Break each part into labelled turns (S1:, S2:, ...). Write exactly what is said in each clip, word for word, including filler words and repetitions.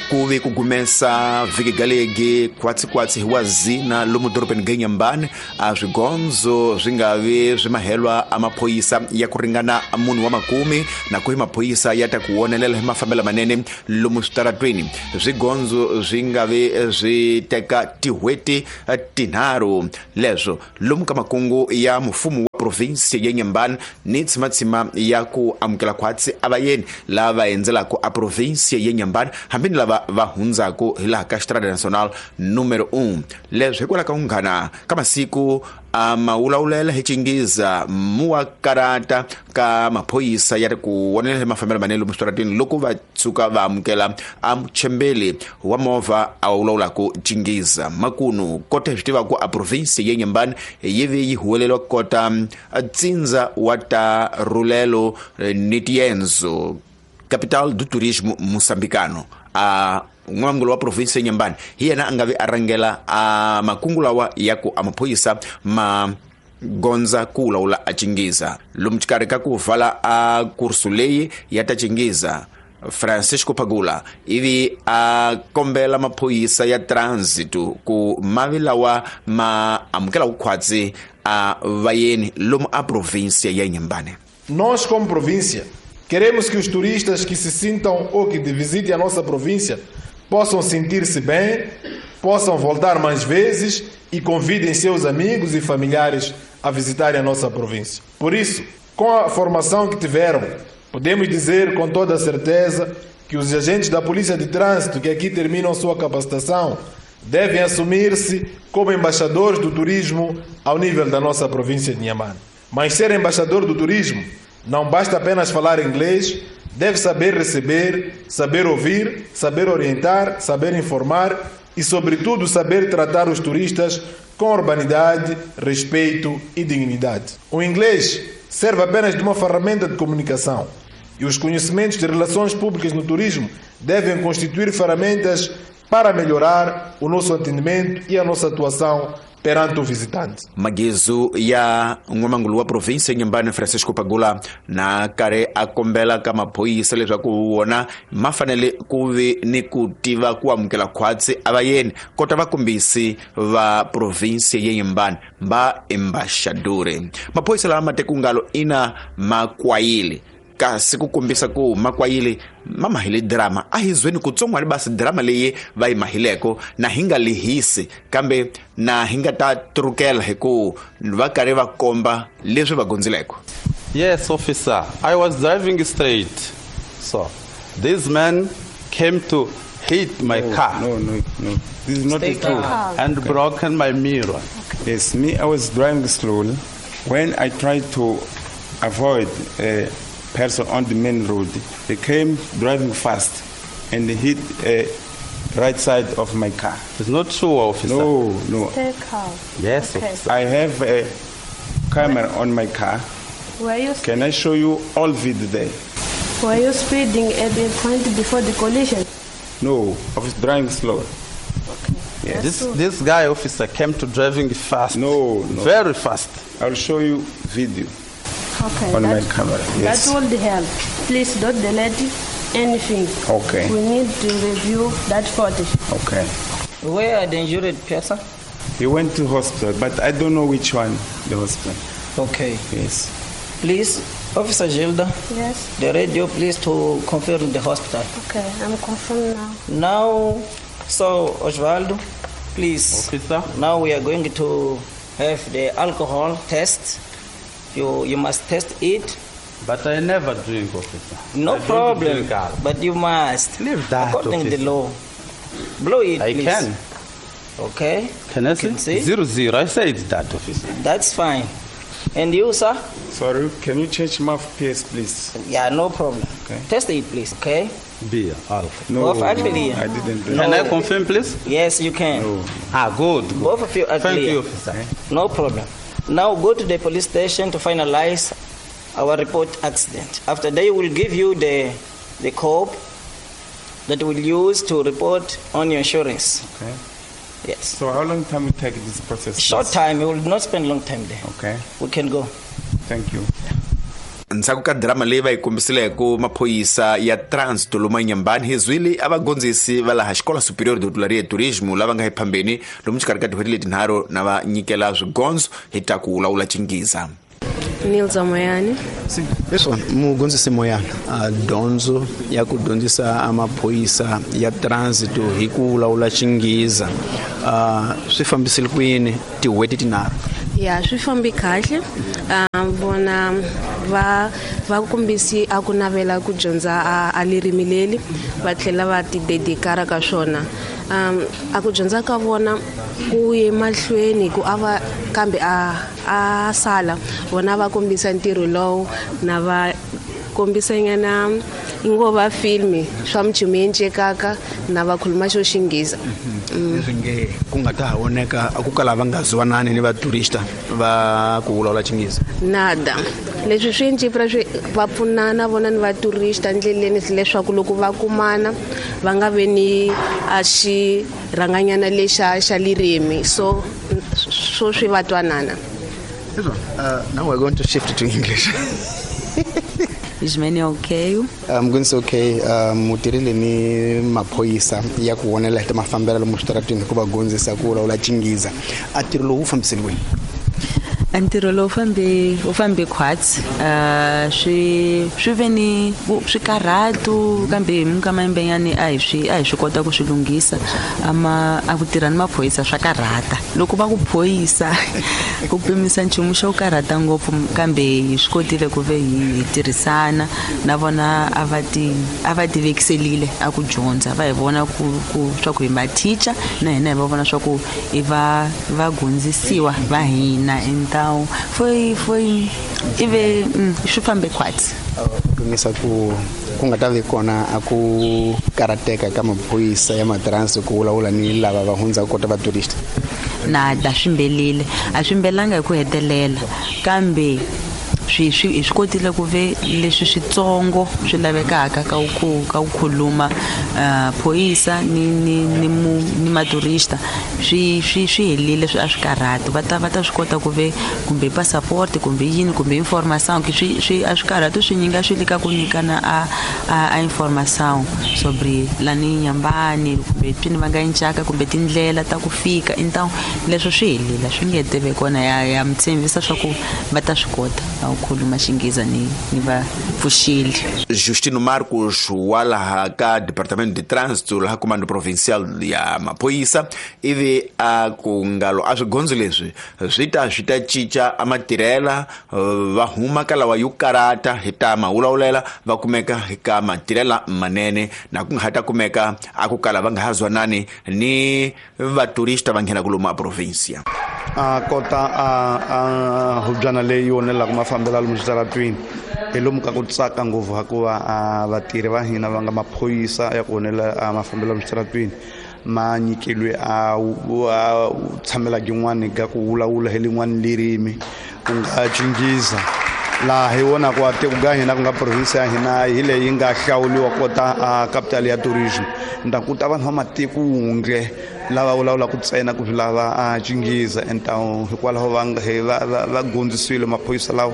S1: Kuve ku gumesa vhiki galegi kwatsi-kwatsi hi wazina lomu dorobeni ga Inhambane a swigondzo swi nga vi swi mahelwa a maphoyisa ya ku ringana munhu wa makumi na ku hi maphoyisa ya ta ku wonelela hi mafambelo manene lomu switaratweni. Swigondzo swi nga vi swi teka tihweti tinharhu leswo lomu ka makungu ya mfumo wa province ya Inhambane ni tshimatsima ya ku amukela khwatsi a vayeni lava endzelaka a province ya Inhambane hambi ni lava va hundzaka hi laha ka Estrada Nacional número um. Leswi hikwalaho ka unghana ka masiku a mawulawulela hi Chingiza muwa karata ka maphoyisa ya ri ku wonelela hi mafambelo manene lomu switarateni loko va tshuka va amukela a muchembeli wa movha a wulawulaka Chingiza. Makunu kota hi swi tiva ku a province ya Inhambane yi vi yi huweleliwa kota tsindza wa ta rulelo ni tiendzo capital do turismo moçambicano. A n'wangulu wa province ya Inhambane hi yena a nga vi a rhangela a makungu lawa ya ku a maphoyisa ma gondza ku lawula a Chingiza. Lomu xikarhi ka ku vala a kursu leyi ya ta Chingiza, Francisco Pagula ivi a kombela maphoyisa ya transit ku mavi lawa ma amukela vukhwatsi a vayeni lomu a província ya Inhambane.
S2: Nós como província queremos que os turistas que se sintam ou que visitem a nossa província possam sentir-se bem, possam voltar mais vezes e convidem seus amigos e familiares a visitarem a nossa província. Por isso, com a formação que tiveram, podemos dizer com toda a certeza que os agentes da Polícia de Trânsito que aqui terminam sua capacitação devem assumir-se como embaixadores do turismo ao nível da nossa província de Inhambane. Mas ser embaixador do turismo não basta apenas falar inglês, deve saber receber, saber ouvir, saber orientar, saber informar e, sobretudo, saber tratar os turistas com urbanidade, respeito e dignidade. O inglês serve apenas de uma ferramenta de comunicação e os conhecimentos de relações públicas no turismo devem constituir ferramentas para melhorar o nosso atendimento e a nossa atuação perante o visitante.
S1: Magizu ya n'wamangulu wa province ya Inhambane Francisco Pagula na karhi a kombela ka maphoyisa leswaku wona ma fanele ku vi ni ku tiva ku amukela khwatsi a vayeni kota vakombisi va province ya Inhambane va embaxadori. Maphoyisa lama tekungalo ina makwayile kasi ku kombisa ku makwayile ma mahile drama a hi zweni kutsongwani basi drama leyi va yi mahileko na hi nga lehisi kambe na hi nga ta trukela hi ku va karhi va komba leswi va gondzileko.
S3: Yes, officer, I was driving straight. So this man came to hit my
S4: no,
S3: car.
S4: No, no, no. This is not
S3: Stay
S4: true.
S3: And
S4: okay.
S3: Broken my mirror.
S4: Okay. Yes, me, I was driving slowly. When I tried to avoid uh, person on the main road, they came driving fast and hit uh, right side of my car.
S3: It's not true, officer.
S4: No, no.
S5: Stay calm.
S3: Yes,
S5: okay.
S3: Officer.
S4: I have a camera on my car.
S5: Were you
S4: Can I show you all video there?
S5: Were you speeding at the point before the collision?
S4: No, I was driving slow.
S5: Okay.
S4: Yes.
S3: This this guy, officer, came to driving fast.
S4: No, no.
S3: Very fast.
S4: I'll show you video.
S5: Okay,
S4: on
S5: that,
S4: my camera, yes.
S5: That will help. Please don't delete anything.
S4: Okay.
S5: We need to review that footage.
S4: Okay.
S6: Where are the injured person?
S4: He went to hospital, but I don't know which one, the hospital.
S6: Okay.
S4: Yes.
S6: Please, Officer Gilda.
S5: Yes.
S6: The radio, please, to confirm the hospital.
S5: Okay, I'm confirmed now.
S6: Now, so Osvaldo, please.
S3: Officer.
S6: Now we are going to have the alcohol test. You, you must test it.
S3: But I never drink, officer.
S6: No
S3: I
S6: problem.
S3: Drink,
S6: but you must.
S3: Leave that,
S6: according to
S3: officer.
S6: the law. Blow it,
S3: I
S6: please.
S3: can.
S6: Okay.
S3: Can I see?
S6: Can see?
S3: Zero, zero. I said that, officer.
S6: That's fine. And you, sir?
S4: Sorry, can you change mouthpiece, please?
S6: Yeah, no problem.
S4: Okay.
S6: Test it, please. Okay.
S3: Beer, alcohol.
S4: No,
S6: Both are clear.
S4: I didn't drink.
S6: No.
S3: Can I confirm, please?
S6: Yes, you can.
S4: No.
S3: Ah, good. good.
S6: Both of you are
S3: Thank
S6: clear.
S3: you, officer.
S4: Okay.
S6: No problem. Now go to the police station to finalize our report accident. After they will give you the the code that will use to report on your insurance.
S4: Okay.
S6: Yes.
S4: So how long time will take this process?
S6: Short
S4: please?
S6: time. We will not spend long time there.
S4: Okay.
S6: We can go.
S4: Thank you.
S1: Ndzhaku ka drama leyi va yi kombisileke maphorisa ya Trânsito lomu Inhambane hi zwile a vagondzisi va laha Xikola Superior de Hotelaria e Turismo lava nga ephambeni lomu xikarhi ka tin'hweti letinharhu na va nyikela swigondzo hi ta ku lawula Chingiza.
S5: Nilza Moyane.
S7: Sim, pessoal, mugondzisi Moyane, a dyondzo ya ku dyondzisa amaphorisa ya trânsito hi ku lawula Chingiza uh, swi fambisile ku yini tin'hweti tinharhu?
S5: Ya, swi fambi kahle. Um, vona va va kombisi a ku navela ku dyondza a, a ririmi leri va tlhela va ti dedikara ka swona. Um, a ku dyondza ka vona ku ye mahlweni ku ava kambe a a sala vona va kombisa ntirho lowu na va kombisa nyana ingo va filmi swa mchumu yencekaka na va khuluma xo Xingiza.
S7: Leswi nge ku nga ta voneka a ku kala va nga zwanani ni vaturista va ku vulavula Xingiza.
S5: Nada. Leswi swi encipra swi va pfunana vona ni vaturista ndleleni leswaku loko va kumana va nga ve ni a xi rhanganyana lexa xa lirimi so so swi va twanana.
S7: Uh, now we're going to shift to English.
S8: Ismene okay?
S7: I'm going to say okay. Mutirile ni maphorisa ya ku vonela hi ta mafambelo lomu switarateni hikuva gondzisa ku lawula Chingiza. A ntirho lowu wu fambisile kwini?
S8: Ntirho lowu fambe wu fambe khwatsi. Uh, swi swi ve ni swikarhatu kambe hi minkama yimbenyani a hi swi a hi swi kota ku swi lunghisa. Ama a ku tirha ni maphorisa swa karhata. Loko va ku phorisa ku pimisa nchumu xo karhata ngopfu kambe hi swi kotile ku ve hi tirhisana na vona a va ti a va ti vekiselile a ku dyondza va hi vona ku ku swa ku hi mathicha na hina hi va vona swa ku i va va gondzisiwa va hina enta foi foi ive swi fambe khwatsi.
S7: Pimisa ku ku nga ta vi kona a ku karateka ka maphorisa ya matransi ku vulavula ni lava va hundzaka kota vaturista.
S8: Nada swi mbelile a swi mbelanga hi ku hetelela kambe swi swi swi kotile ku ve leswi switsongo swi lavekaka ka ku ka ku khuluma phorisa ni ni ni mu ni maturista swi swi swi helile swi a swi karhati va ta va ta swi kota ku ve kumbe passport kumbe yini kumbe information ki swi swi a swi karhati swi nyinga swi lika ku nyikana a a information sobre lani Inhambane kumbe twini va nga incaka kumbe tindlela ta ku fika então leswo swi helile swi nge teve kona ya ya mtshembisa swa ku va ta swi kota khuluma Xingiza ni ni va pfuxile.
S1: Justino Marcos wa laha ka Departamento de Trânsito laha Comando Provincial ya Maphorisa ivi a ku ngalo a swigondzo leswi swi ta swi ta cinca a matirhela va huma ka lawa yo karata hi ta mawulawulela va kumeka ka matirhela manene na ku nga ha ta kumeka a ku kala va nga ha zwanani ni vaturista va nghena lomu a provincia.
S9: A kota a a hubyana leyi vonelaka mafambelo lomu switaratwini hi lomu ka ku tsaka ngopfu hikuva a vatirhi va hina va nga maphorisa ya ku vonela mafambelo lomu switaratwini ma nyikeliwe a tshamela yin'wani ka ku vulavula hi lin'wani lirimi ku nga Chingiza laha hi vonaka a tiko ka hina ku nga province ya hina hi leyi nga hlawuliwa kota a capital ya tourism nda ku ta vanhu va matiko wundle lava vulavulaka ntsena ku lava a Chingiza então hikwalaho va va va gondzisiwile maphorisa lawa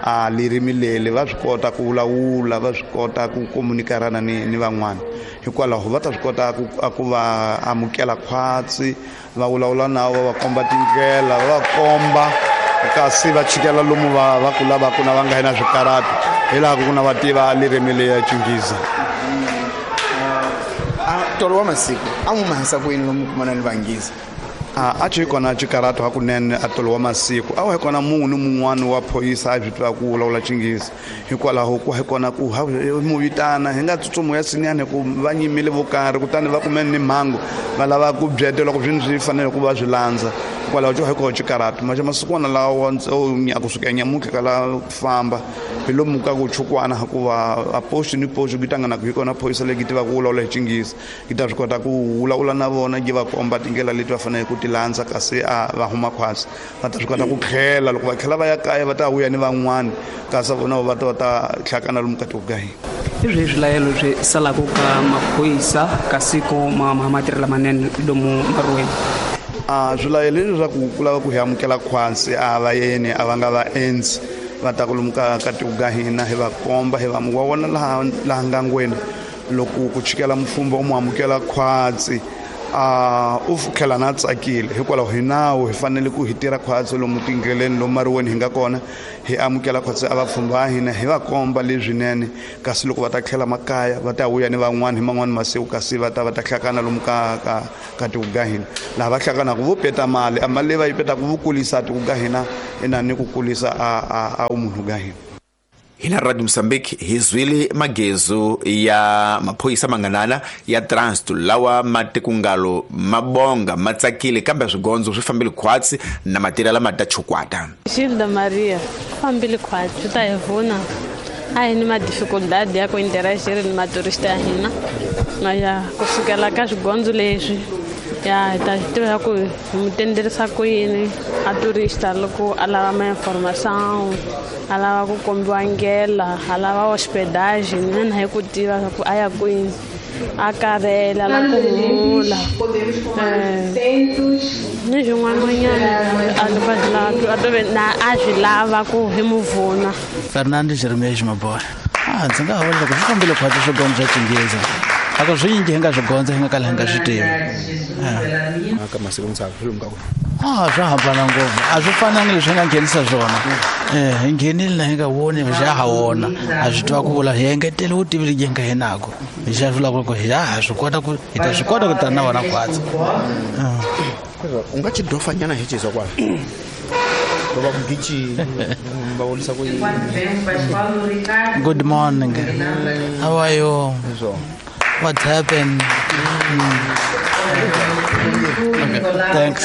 S9: a lirimi leri va swi kota ku vulavula va swi kota ku komunikarana ni ni van'wana hikwalaho va ta swi kota ku ku va amukela khwatsi va vulavula na va va komba tindlela va va komba kasi va chikela lomu va va ku lavaka na va nga na swikarhati hi laha ku na va tiva lirimi leya Chingiza.
S7: Tolo wa masiku a mu mahisa ku yini lomu kumana ni vangiza?
S9: A a ci kona xikarhato hakunene a tolo wa masiku a wu hi kona munhu ni mun'wani wa phorisa a swi tiva ku vulavula Xingiza hikwalaho ku hi kona ku mu vitana hi nga tsutsumi ya sinyani ku va nyimile vo karhi kutani va kumene ni mhangu va lava ku byetela ku swini swi fanele ku va swi landza hikwalaho xo hi kona xikarhato maxe masikwana lawa kusuka nyamuntlha ka la ku famba hi lomu ka ku chukwana hikuva a post ni post ku tangana ku hi kona phorisa leyi tivaka ku vulavula hi Xingiza yi ta swi kota ku vulavula na vona yi va komba tindlela leti va faneleke ku ti landza kasi a va huma khwatsi va ta swi kota ku tlhela loko va tlhela va ya kaya va ta vuya ni van'wani kasi vona va ta va ta hlakana lomu ka tiko ka hina.
S10: Hi swihi swilayelo swi salaka ka maphorisa ka siku ma matirhela manene lomu maruweni?
S9: A swilayelo leswaku ku lava ku hi amukela khwatsi a va yeni a va nga va endzi va ta ku lomu ka ka tiko ka hina hi va komba hi va wa vona laha laha ngangweni loko ku chikela mufumba u mu amukela khwatsi a u tlhela na tsakile hikwalaho hi nawu hi fanele ku hi tirha khwatsi lomu tindleleni lomu mariweni hi nga kona hi amukela khwatsi a vapfhumba va hina hi va komba leswinene kasi loko va ta tlhela makaya va ta vuya ni van'wana hi man'wani masiku kasi va ta va ta hlakana lomu ka ka ka tiko ka hina laha va hlakanaka vo peta mali a mali leyi va yi petaka vo kulisa tiko ka hina ina ni ku kulisa a a a vumunhu ka hina.
S1: Hina Radio Mozambique hi zwile magezo ya maphoyisa manganana ya transit lawa matikungalo mabonga matsakile kambe swigondzo swi fambile khwatsi na matirela lama ta chukwata.
S11: Gilda Maria fambile khwatsi ta hi vona a hi ni ma dificuldade ya ku interagir ni maturista ya hina maya kusukela ka swigondzo leswi ya ta tiva ku mu tenderisa ku yini a turista loko a lava ma information a lava ku kombiwa ndlela a lava hospedagem mina hi ku tiva ku a ya kwini a karhela la ku humula ni swin'wananyana a to na a swi lava ku hi mu vuna.
S12: Fernando Jeremias Maboy a ndzi nga vula ku swi fambile khwatsi swigondzo swa Xinghezi a ku swinji hi nga swi gondza hi nga kala hi nga swi tivi
S7: ka masiku mitsava swi lomu ka ku
S12: a swa hambana ngopfu a swi fanangi leswi hi nga nghenisa swona um hi nghenile na hi nga voni xa ha wona a swi tiva ku vula hi engetele vutivi lebyi hi nga hi nako hi xa vulaka ku hi ha swi kota ku hi ta swi kota ku tana na vona khwatsi.
S7: U nga ci dofanyana hi cizwa kwala va ku gichi va vonisa ku yini.
S12: Good morning, how are you? What happened? Mm. Okay, thanks.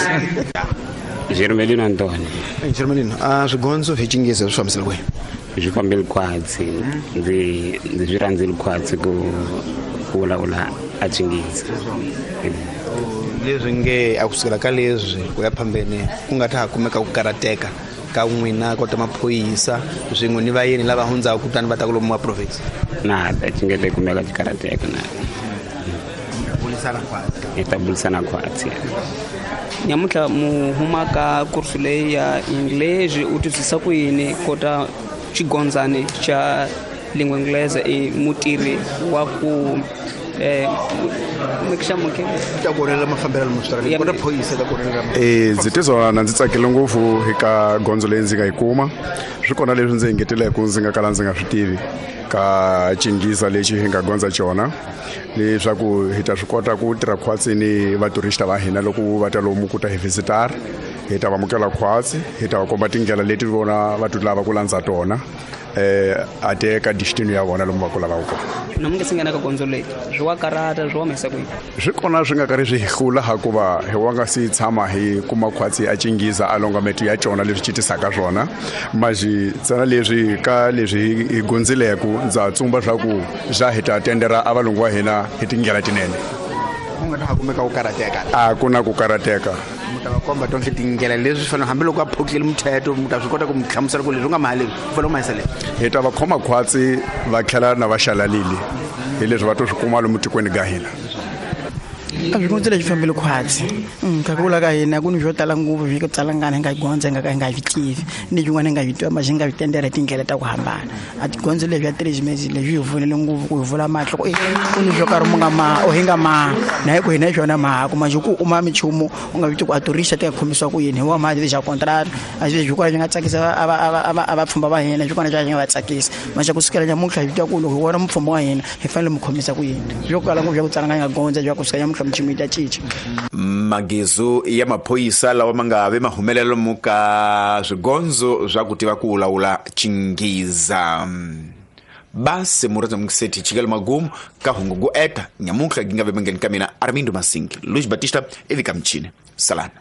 S13: Jermelino Antoni.
S7: Jermelino, a swigondzo hi Xinghezi swi fambisile kwihi?
S13: Swi fambile khwatsi ndzi ndzi swi rhandzile khwatsi ku ku vulavula a Xinghezi.
S7: Leswi nge a kusukela ka leswi ku ya phambeni ku nga ta ha kumeka ku karateka ka n'wina kota maphoyisa swin'we ni vayeni lava hundzaka kutani va ta ku lomu wa province.
S13: Na ta xingete kumeka xikarateka na
S7: bulisana khwatsi
S13: hi ta bulisana khwatsi.
S10: Nyamuntlha mu huma ka kursu leyi ya English u twisisa ku yini kota xigondzani xa lingua inglesa i mutirhi wa ku eh
S7: ta ku rhela mafambelo lama kota phoyisa ta ku rhela.
S14: Eh ndzi tizwa na ndzi tsakile ngopfu eka gondzo leyi ndzi nga yi kuma swi kona leswi ndzi engeteleke ndzi nga kala ndzi nga swi tivi ka Xinghezi lexi hi nga gondza xona leswaku hi ta swi kota ku tirha khwatsi ni vaturista va hina loko va ta lomu ku ta hi visitor hi ta va amukela khwatsi hi ta va komba tindlela leti vona va ti lava ku landza tona eh a teka destiny ya vona lomu va ku lavaka kona.
S10: Na mi nge se nghena ka gondzo leyi swi wa karata swi wa mhisa ku yini?
S14: Swi kona swi nga karhi swi hi hlula hikuva hi wa nga si tshama hi kuma khwatsi a Xinghezi a longa metu ya cona leswi citisaka swona maxi ntsena leswi ka leswi hi gondzileku ndza tsumba swa ku xa hi ta tendera a valungu wa hina hi tindlela tinene.
S7: Ku nga ta ha kumeka ku karateka?
S14: A ku na ku karateka.
S7: Mu ta va komba tonke tindlela leswi fanele hambiloko a phokile muthetho mu ta swi kota ku mu hlamusela ku leswi u nga mahali u fanele u mahisa leswi.
S14: Hi ta va khoma khwatsi va tlhela na va xalalile hi leswi va to swi kuma lomu tikweni ka hina.
S15: A swigondzo leswi fambile khwatsi ka ku vula ka hina ku ni swo tala ngopfu swi ku tsalangana hi nga gondza hi nga ka hi nga swi tivi ni swin'wana hi nga swi tiva ma swi nga swi tendera hi tindlela ta ku hambana a tigondzo leswi ya three leswi hi pfunile ngopfu ku hi vula mahlo ku ku ni swo karhi mu nga ma o hi nga ma na hi ku hina hi swona mahaku ma ku u ma minchumu u nga swi tivi ku a turista ti nga khomisiwa ku yini hi wa mali xa contract a swi swi kona swi nga tsakisa a va a va a vapfhumba va hina swi kona swi nga va tsakisa ma xa ku sukela nyamuntlha hi twa ku loko hi vona mupfhumba wa hina hi fanele mu khomisa ku yini swo kala ngopfu swa ku tsalanga hi nga gondza swa ku suka nyamuntlha minchumu yi ta cinca.
S1: Magezo ya maphoyisa lawa ma nga ve mahumelelo mu ka swigondzo swa ku tiva ku vulavula Xinghezi. Basi murata mukiseti chikelo magumu ka hungu go eta nyamuntlha gi nga ve mangeni ka mina Armindo Masingi Luis Batista evika mchini salana.